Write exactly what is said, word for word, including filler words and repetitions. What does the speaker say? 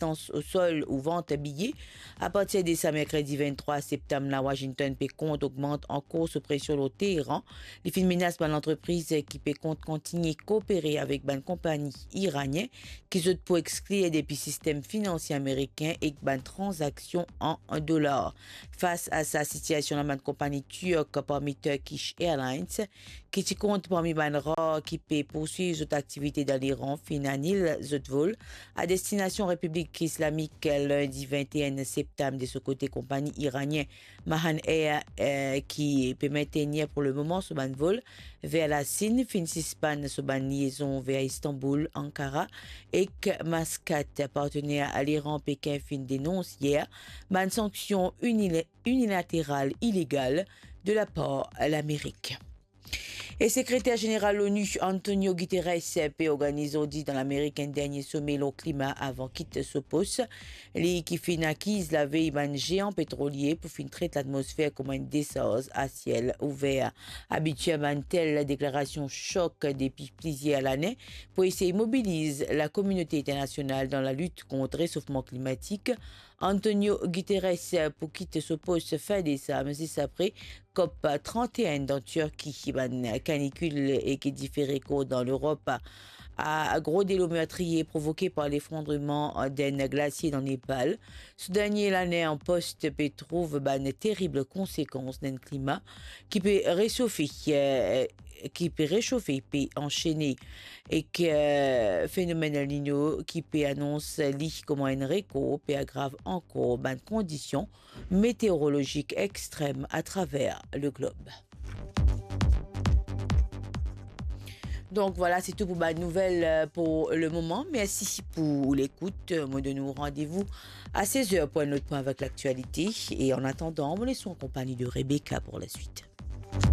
asistans o sol ou vant biye. Apartir de sa merkredi venntrwa septam la, Washington pe kont ogmant ankor so presion lor Teheran. Li finn menas bann lantrepriz ki pe kont kontigne koopere avek bann konpagni iranien ki zot pou exklir depi sistem finansie amerikin ek bann tranzaksion an dolar. Fas a sa sitiasion la, bann konpagni tirk, parmi Turkish Airlines, ki ti kont parmi bann rar ki pe pourswiv zot aktivite dan Liran, finn anil zot vol a destinasion Repiblik Islamik lindi vennteen septam. De so kote, konpagni iranien Mahan Air, eh, ki pe mentenir pou lemoman so bann vol ver Lasinn, finn sispann so bann liezon ver Istanbul, Ankara ek Maskat. Partener Liran, Pekin, finn denons yer bann sanksion inile-, inilateral ilegal de lapar Lamerik. E Sekreter Zeneral Lonu, Antonio Guterres, pe organiz zordi dan Lamerik enn dernie some lor klima avan kit so pos. Li ki finn akiz lavey bann zean petrolie pou finn tret latmosfer kouma enn desarz a siel ouver. Abitir bann tel deklarasion sok depi plizier lane pou esey mobiliz lakominote internasional dan lalit kont resofman klimatik, Antonio Guterres pou kit so pos fin desam, zis apre COP trente et un dan Tirki. Bann kanikil e ki dife rekor dan Lerop, a gro delo mertriye provoke par lefrondreman d'enn glasie dan Nepal. So dernie lane an pos pe trouv bann terib konsekans d'enn klima ki pe resofe, eh, ki pe resofe, pe ansene, ek, eh, fenomenn El Niño ki pe anons li kouma enn rekor pe agrav ankor bann kondision meteorolozik extrem atraver le glob. Donk, vwala, se tou pou bann nouvel, eh, pou lemoman. Mersi pou lekout. Mo donn ou randevou a sez er pou enn lot pwin avek laktialite. E an atandan, mo les ou an konpagni de Rebecca pou laswit.